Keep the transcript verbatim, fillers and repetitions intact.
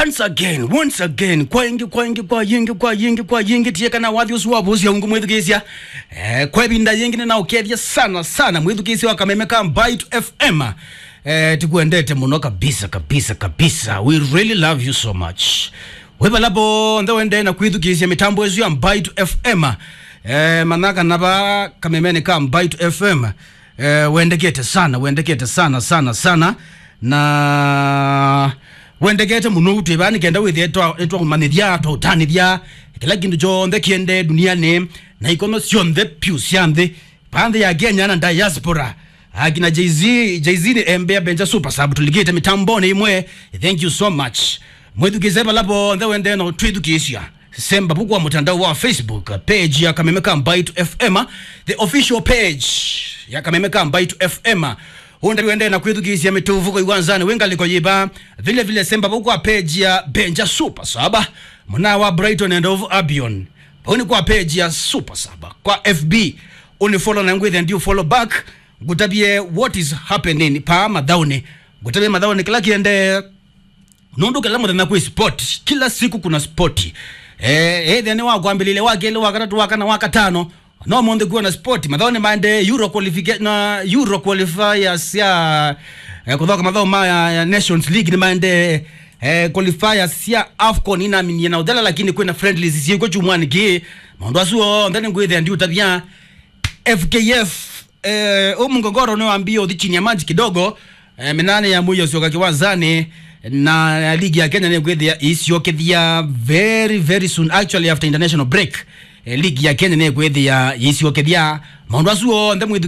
Once again, once again, kwa ingi, kwa ingi, kwa yingi, kwa yingi, kwa yingi, tie kana wathi usu wa vusi ya ungu mwithukisya. Eh, kwa ibinda yingi nina ukethia sana, sana, mwithukisya wa kameme ka Mbaitu F M. Eh, tikwendete muno kabisa, kabisa, kabisa. We really love you so much. We vala vonthe wende na kwithukisya mitambo isu ya Mbaitu F M. Eh, manaka na va kamemeni ka Mbaitu F M. Eh, wendekete sana, wendekete sana, sana, sana. Na wendekete muno utwivaa nikenda withie twa- nitwaumanyithya, twautanithya kila kindu kyonthe kiende duniani na ikono syonthe pyu sya nthi, pa nthi ya Kenya na diaspora. Akina Jay-Z, Jay-Z ni embea benja super sub tulikite mitamboni imwe. Thank you so much. Mwithukise vala vonthe wende na utwithukisya. Semba vukwa mutandao wa Facebook, page ya Kameme ka Mbaitu F M, the official page ya Kameme ka Mbaitu F M. Unde wende na kwithukisya mituvuko iwanzani, wingaliko yiva. Vile vile semba vukwa page ya Benja Super Saba, muna wa Brighton and of Albion. Vau ni kwa page ya Super Saba. Kwa F B, uni follow na ngwithe ndi follow back. Ngutavye what is happening pa mathauni. Ngutavye mathauni kila kiende. Nundu kila muthenya kwi sport, kila siku kuna sport. Eh, either ni wa kwambilile, wa keli, wa katatu, wa kana, wa katano. No munthe kuwa na sport. Mathauni maende Euro qualifica- na Euro qualifiers ya, eh, kuthoka mathauni ma ya, ya Nations League ni maende, eh, qualifiers ya AFCON inaminie na uthela, lakini kwina friendlies siiko chumwani ki. Maundu asu onthe ni ngwithia ndi utavya. F K F, eh, umungogoro ni wambia uthi chini ya maji kidogo. Eh, minane ya muyo syoka kiwanzani, na ligi ya Kenya ni kwithia isiokethia very, very soon, actually after international break. Eh, ligi ya Kenya ni kwithia isiokethia. Maundu asu onthe mwithu